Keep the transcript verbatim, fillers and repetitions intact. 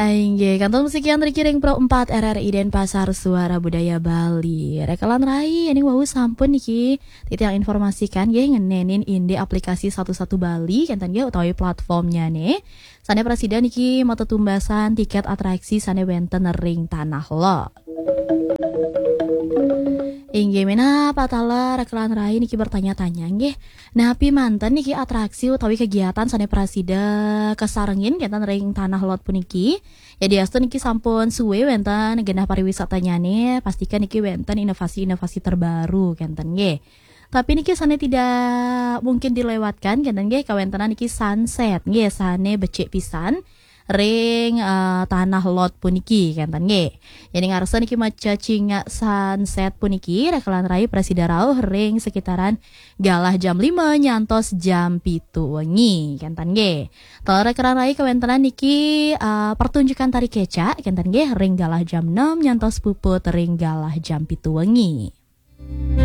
Inggih, kantun sekian Riki ring Pro empat R R I Denpasar, Suara Budaya Bali. Rekelan rai, ening wau sampun niki titiang informasikan nggih ngenenin indik aplikasi Satu Satu Bali kenten nggih utawi platformnya nih. Sane prasida niki matetumbasan tiket atraksi sane wenten ring Tanah Lot. Inggih, menapa taler rekelan rai niki bertanya-tanya nggih. Napi manten niki atraksi utawi kegiatan sane prasida kasarengin kenten ring Tanah Lot puniki? Yadiastu niki sampun suwe wenten genah pariwisatanyane, pastikan niki wenten inovasi-inovasi terbaru kenten nggih. Tapi niki sane tidak mungkin dilewatkan kenten nggih, kawentenan niki sunset nggih, sane becik pisan ring eh, Tanah Lot puniki kenten nggih. Jadi ngarsa niki maca cingak sunset puniki rekelan rai prasida rauh ring sekitaran galah jam lima nyantos jam pitu wengi kenten nggih. Taler rekelan rai kawentenan niki eh, pertunjukan tari kecak kenten nggih ring galah jam enam nyantos puput ring galah jam pitu wengi.